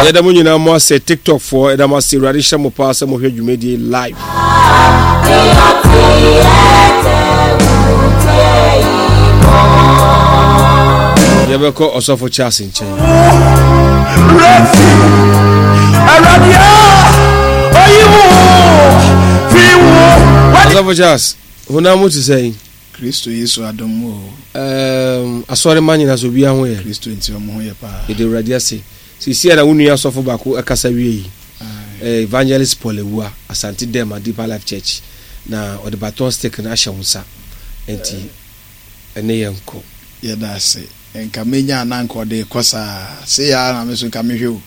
Yɛda mo nyinaa mo ase TikTok foɔ yɛda mo ase Awurade hyɛ mo paa sɛ mohwɛ dwumadie live. Yɛbɛkɔ ɔsɔfo Charles nkyɛn. Ɔsɔfo Charles, honam mu te sɛn? Kristo Yesu adom mu o. Ɛɛm, asɔre ma nyina so obiara ho yɛ. Kristo nti ɔmo ho yɛ paa. Yɛda Awurade ase. Seesei a na wo nua sɔfo baako ɛkasa wie yi, eh, Evangelist Paul Awua, Asante Dɛm Deeper Life Church, na ɔde baton stick no ahyɛ wo nsa. Enti, ɛne yɛn nkɔ. Yɛda ase. Nka menya a na nka ɔde rekɔ saa. Sei ara na me nso nka mehwɛ o.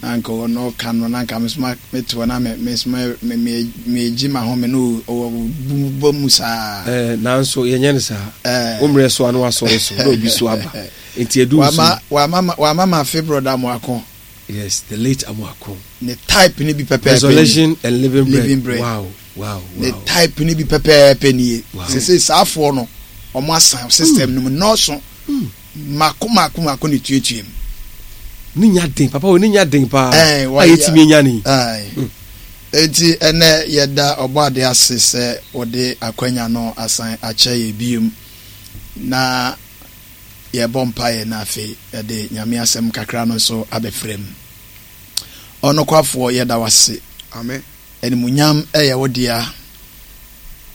Na anka ɔno ɔka no na anka me nso mete hɔ na me me nso me me megye m'ahome na ɔbu bɔ mu saa. Ɛɛ nanso yɛnyɛ no saa. Ɛɛ wo mmerɛ so a na wasɔre so na obi so aba nti edu nso. Wama wama wama mafe brɔda Amoako. Yes, the late Amoako. Ne type ne bi pɛpɛɛpɛ nie. Resurrection and living bread. Living bread. Wow wow wow. Ne type ne bi pɛpɛɛpɛ nie. Wow. Sese saafoɔ no wɔn asan system no mu nnɔɔso. Mm. Mako mako mako na etuatua mu. Ne nya den papa o ne nya den paa a yɛtumi anya ne. Hmm. Enti ɛnɛ yɛda ɔbɔade ase sɛ wɔde akwanya no asan akyɛ yɛ biom na yɛbɔ mpaeɛ na afei yɛde Nyame asɛm kakra no nso abɛfra mu. Ɔnokwafoɔ yɛda wase. Amen. Animuonyam yɛ wo dea.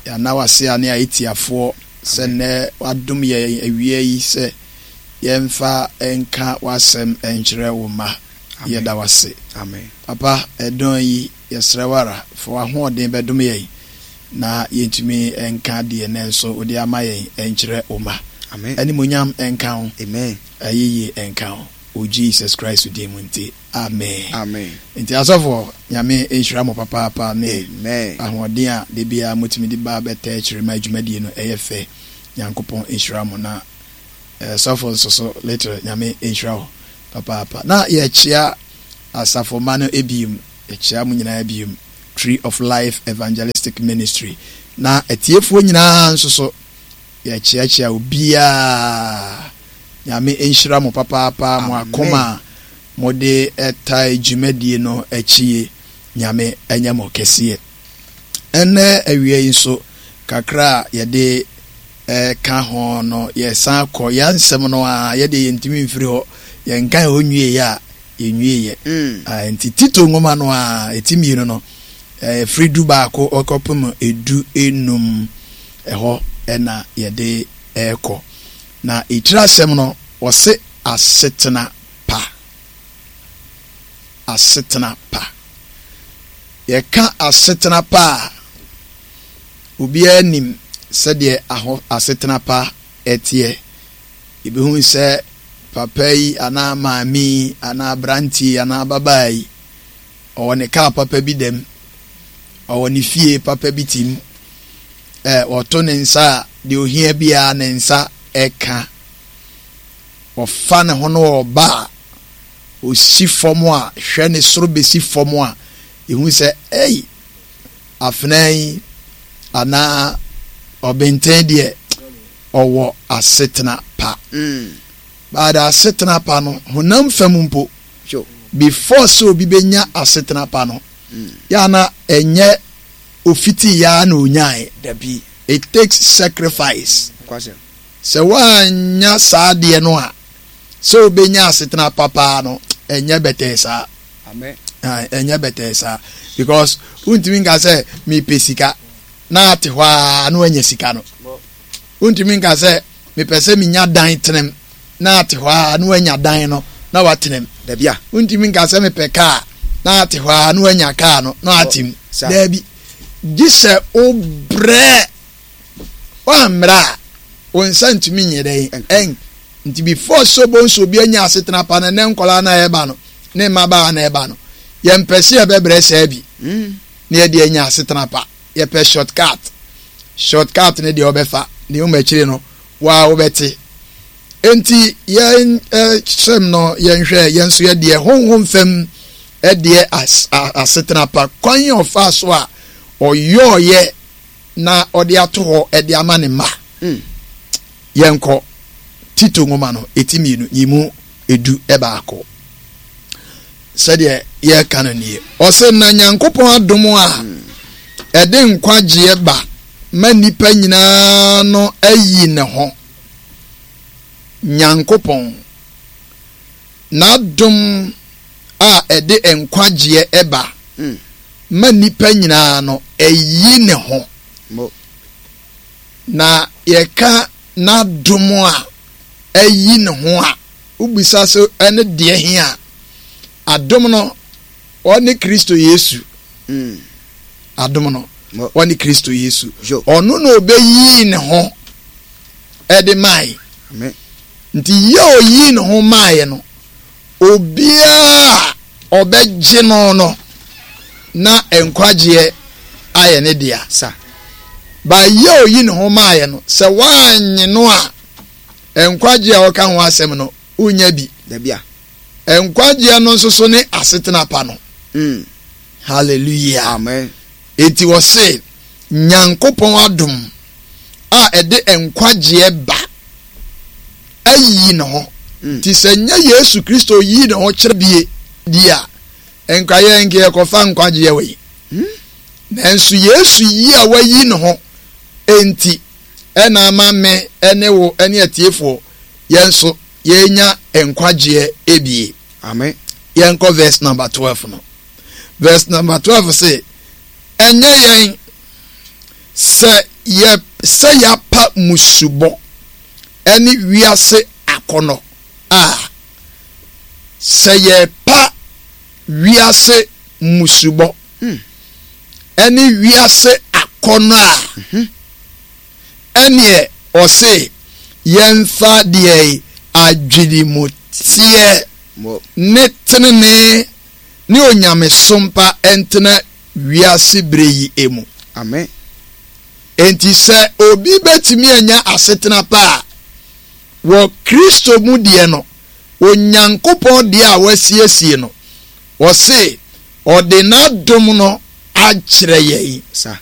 Yɛana w'ase a ne ayetiafoɔ sɛ nnɛ w'adom yɛn awia yi sɛ yɛmfa nka w'asɛm nkyerɛ wo mma. Yɛda w'ase. Papa, ɛdɔn yi yɛsrɛ wo ara fa w'ahoɔden bɛdom yɛn na yɛntumi nka deɛ nnɛ nso wode ama yɛn nkyerɛ wo mma. Animuonyam nka wo. Ayeyie nka wo. Wɔ Jesus Christ din mu nti. Amen. Amen. Nti asɔfoɔ, Nyame nhyira mo papaapa ne Amen. ahoɔden a da biara motumi de ba bɛtaa akyire ma dwumadie no ɛyɛ fɛ. Nyankopɔn nhyira mo na eh, sɔfo nso so little Nyame nhyira wo papaapa. Na yɛkyea asafo mma no biom, yɛkyea mo nyinaa biom, Tree of Life Evangelistic Ministry. Na atiefoɔ nyinaa nso so yɛkyeakyea obiara. Nyame nhyira mo papaapa mo akoma a mode tae dwumadie no akyie Nyame nyɛ mo kɛseɛ. Ɛnɛ awia yi nso kakra a yɛde ka ho no yɛsan kɔ yɛn nsɛm no a yɛdeɛ yɛntumi mfiri hɔ yɛnka hɔ nwieɛ a yɛnwieɛ mm. Nti Tito nwoma no a ɛti mmienu no ɛfiri 11 ɔkɔpem 15 ɛhɔ ɛna yɛde ɛkɔ. Na etiri asɛm no, wɔse asetena pa. Asetena pa. Yɛka asetena pa a, obiara nim sɛdeɛ aho asetena pa teɛ. Yɛbɛhu sɛ papa yi anaa maame yi anaa aberanteɛ yi anaa ababaa yi, ɔwɔ ne kaa papa bi dam, ɔwɔ ne fie papa bi te mu. Ɛ, ɔto ne nsa a, deɛ ohia biara ne nsa ka. Ɔfa ne ho no ɔba a, ɔsi fam a, hwɛ ne soro bɛsi fam a, ɛhu sɛ, ei, afenaa yi anaa ɔbenten deɛ, ɔwɔ asetena pa. Mm. But asetena pa no, honam fam mpo, before sɛ obi bɛnya asetena pa no, mm. yɛ ana ɛnyɛ ofitii yɛ ara na onyae. Dabi. It takes sacrifice. Nokwasɛm. Sɛ woannya saa adeɛ no a, sɛ wobɛnya asetena pa paa no, ɛnyɛ bɛtɛɛ saa. Amen. Ae, ɛnyɛ bɛtɛɛ saa. Because wontumi nka sɛ mepɛ sika na ate hɔ ara na woanya sika no. Wontumi nka sɛ mepɛ sɛ menya dan tenem na ate hɔ ara na wanya dan no na watenam. Dabi a. Wontumi nka sɛ mepɛ kaa na ate hɔ ara na wanya kaa no na wate mu. Dabi. Gye sɛ wobrɛ. Woammrɛ a, wo nsa ntumi nyɛ dɛn? Ɛn. Nti before sɛ wobɛhu sɛ obi anya asetena pa no, ɛnnɛ nkwadaa no a ɛreba no ne mmabaawa no a ɛreba no, yɛmpɛ sɛ yɛbɛbrɛ saa bi na yɛde anya asetena pa. Yɛpɛ short cut. Short cut no deɛ wobɛfa, na mmom akyire no, wo ara wobɛte. Enti yɛn hyɛm no yɛnhwɛ yɛn nso yɛ deɛ honhom fam deɛ asetena pa kwan a ɔfaa so a ɔyɔɔyɛ na ɔde ato hɔ de ama ne mma. Mm. Yɛnkɔ Tito nwoma no eti mmienu nyimu 11. Sɛdeɛ yɛreka no nie. Ɔse, na Nyankopɔn adom a ɛde nkwagyeɛ ba ma nnipa nyinaa no ayi ne ho. Nyankopɔn, N'adom a ɛde nkwagyeɛ ba ma nnipa nyinaa no ayi ne ho. Na yɛka N'adom a ayi ne ho a, wobisa sɛ ɛne deɛ he a? Adom no, ɔne Kristo Yesu. Mm. Adom no, ɔne Kristo Yesu. Ɔno na ɔbɛyii ne ho ɛde mae. Nti yɛ ɔyii ne ho maeɛ no, obiara a ɔbɛgye no no, na nkwagyeɛ ayɛ ne dea. Sa. Ba yɛ ɔyi ne ho maeɛ no, sɛ woannye no a, nkwagyeɛ a ɔka ho asɛm no, wonnya bi. Dabi a. Nkwagyeɛ no nso so ne asetena pa no. Mm. Hallelujah. Amen. Enti wɔse Nyankopɔn adom a ɛde nkwagyeɛ ba ayi ne ho. Mm. Nti sɛ nyɛ Yesu Kristo yii ne ho kyerɛ bie di a, nka yɛn nka yɛkɔfa nkwagyeɛ wei. Mm. Nanso Yesu yi a wayi ne ho enti ɛna ama me ne wo ne atiefoɔ yɛn nso yɛnya nkwagyeɛ ebie. Amen. Yɛnkɔ verse number 12 no. Verse number 12 se, ɛnyɛ yɛn sɛ yɛ sɛ yɛapa musubɔ ɛne wiase akɔnɔ a, sɛ yɛpa wiase musubɔ hmm. ɛne wiase akɔnɔ a, mhm. Ɛneɛ ɔse yɛnfa deɛ adwenemuteɛ ne tenenee ne onyamesom pa ntena wiase berɛ yi mu. Amen. Enti sɛ obi bɛtumi anya asetena pa a, wɔ Kristo mu deɛ no, Onyankopɔn deɛ a wasiesie no, ɔse ɔde n'adom no akyerɛ yɛn. Sa.